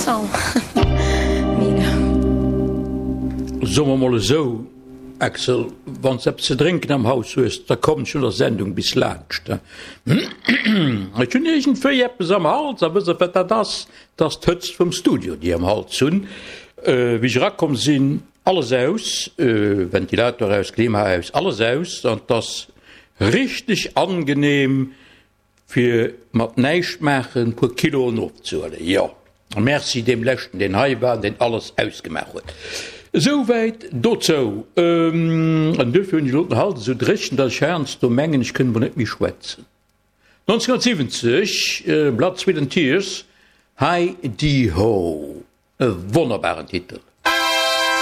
sang. Mega. Soe mer mol esou, Axel, wann s eppes ze drénken am Haus hues, da komm ech no der Sendung bis laanscht. Ech hunn iergendwéi eppes am Hals a wëss et wat dat ass? 't ass d'Hëtzt vum Studio, déi am Hals hunn. Wéi ech erakomm sinn, alles aus, Ventilator aus, Klima aus, alles aus an 't ass richteg angenehm. Fir mat näischt maachen puer Kiloen ofzehuelen. Jo, merci deem leschten deen hei war an deen alles ausgemaach huet. Esouwäit dozou. An duerfir hunn ech elo den Hals esou dréchen, datt ech heiansdo mengen, ech kënnt mol net méi schwätzen. 1970, Blood, Sweat and Tears, Hi Dee Ho, e wonnerbaren Titel.